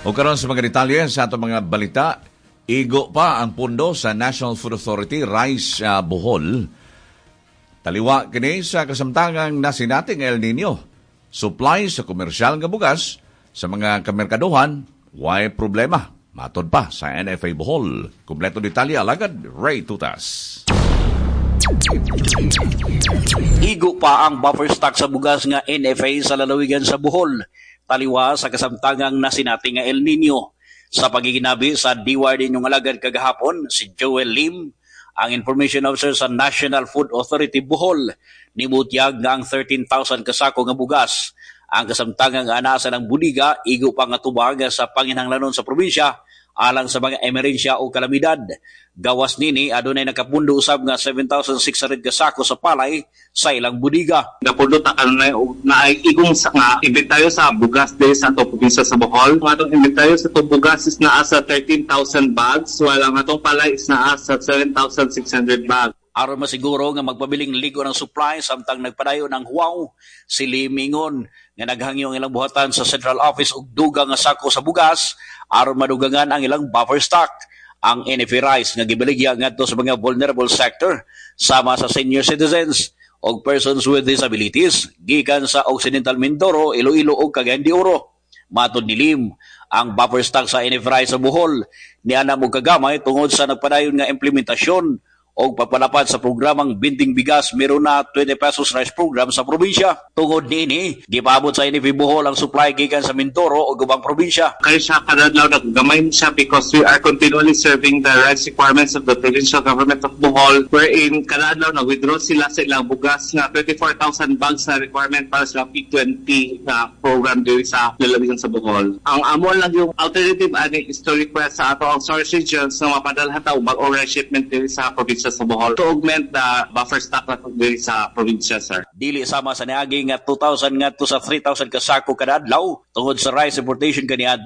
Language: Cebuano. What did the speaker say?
O karon sa mga detalye sa atong mga balita, igo pa ang pundo sa National Food Authority Rice Bohol. Taliwa kini sa kasamtangang nasinating El Nino. Supply sa komersyal nga bugas sa mga kamerkaduhan, way problema. Matod pa sa NFA Bohol. Kompleto detalye alagad Ray Tutas. Igo pa ang buffer stock sa bugas nga NFA sa lalawigan sa Bohol. Taliwa sa kasamtangang nasinati nga El Nino. Sa pagiginabi sa DYD inyong alagad kagahapon, si Joel Lim, ang Information Officer sa National Food Authority Bohol, nibutyag nga ang 13,000 kasako nga bugas. Ang kasamtangang anasan ng budiga, igo pa nga tubag sa panginhanglanon sa probinsya, alang sa mga emerhensya o kalamidad. Gawas nini, adunay nakapundo usab nga 7,600 kasako sa palay sa ilang budiga. Napundo ta kanunay og naay igong sa nga inventaryo sa bugas diri sa atong probinsya sa Bohol. Ang atong inventaryo sa atong bugas is naa sa 13,000 bags, while ang atong palay is naa sa 7,600 bags. Aron masiguro nga magpabiling ligo ng supply samtang nagpadayon ang huwaw, si Limingon nga naghangyo ang ilang buhatan sa Central Office og dugang nga sako sa bugas aron madugangan ang ilang buffer stock. Ang NFA rice nga gibaligya ngadto sa mga vulnerable sector sama sa senior citizens og persons with disabilities gikan sa Occidental Mindoro, Iloilo ug Cagayan de Oro. Matod ni Lim, ang buffer stock sa NFA rice sa Bohol niana mo kagamay tungod sa nagpadayon nga implementasyon og pagpalapad sa programang Binding Bigas Meron na 20 pesos rice program sa probinsya. Tungod niini, gipaabot sa NFA Bohol ang supply gikan sa Mindoro ug ubang probinsya. Kaya siya kada adlaw naggamay siya because we are continually serving the rice requirements of the provincial government of Bohol, wherein kada adlaw nag-withdraw sila sa ilang bugas nga 24,000 bags na requirement para sa P20 na program diri sa lalawigan sa Bohol. Ang amo lang yung alternative ani is to request sa ato ang source regions na mapadalhan ta og bag-ong rice shipment diri sa probinsya sa Bohol to augment the buffer stock na diri sa probinsya, sir. Dili sama sa niagi nga 2,000 ngadto sa 3,000 kasako kada adlaw tungod sa rice importation kaniadto.